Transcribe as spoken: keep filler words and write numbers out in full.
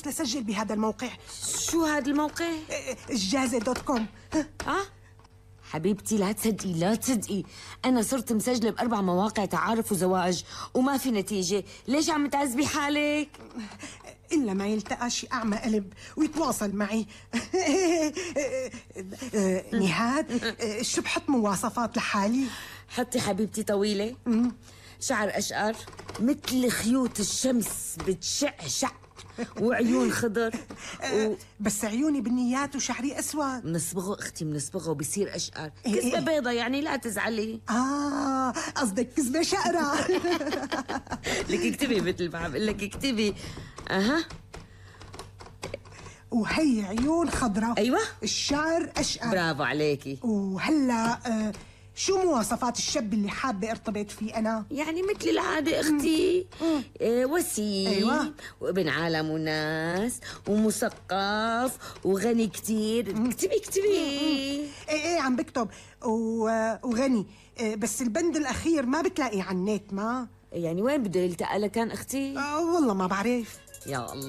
بس لسجل بهذا الموقع. شو هذا الموقع؟ الجازة دوت كوم. اه حبيبتي لا تصدقي لا تصدقي، أنا صرت مسجلة بأربع مواقع تعارف وزواج وما في نتيجة. ليش عم تعذبي حالك؟ إلا ما يلتقى شي أعمى قلب ويتواصل معي. نهاد، شو بحط مواصفات لحالي؟ حطي حبيبتي طويلة، شعر أشقر مثل خيوط الشمس بتشعشع، وعيون خضر و... بس عيوني بنيات وشعري أسود. منصبغه أختي منصبغه وبصير أشقر. كذبة بيضة يعني لا تزعلي. آه قصدك كذبة شقرة. لك اكتبي مثل ما عم بقول لك اكتبي. أها وهي عيون خضراء. أيوة الشعر أشقر. برافو عليكي. وهلا آه شو مواصفات الشاب اللي حابة ارتبط فيه أنا؟ يعني مثل العادة أختي، إيه وسيم. أيوة. وابن عالم وناس ومثقف وغني كتير. اكتبي اكتبي. ايه ايه عم بكتب. وغني، بس البند الأخير ما بتلاقي على النت. ما يعني وين بده يلتقى لكان أختي؟ آه والله ما بعرف. يا الله.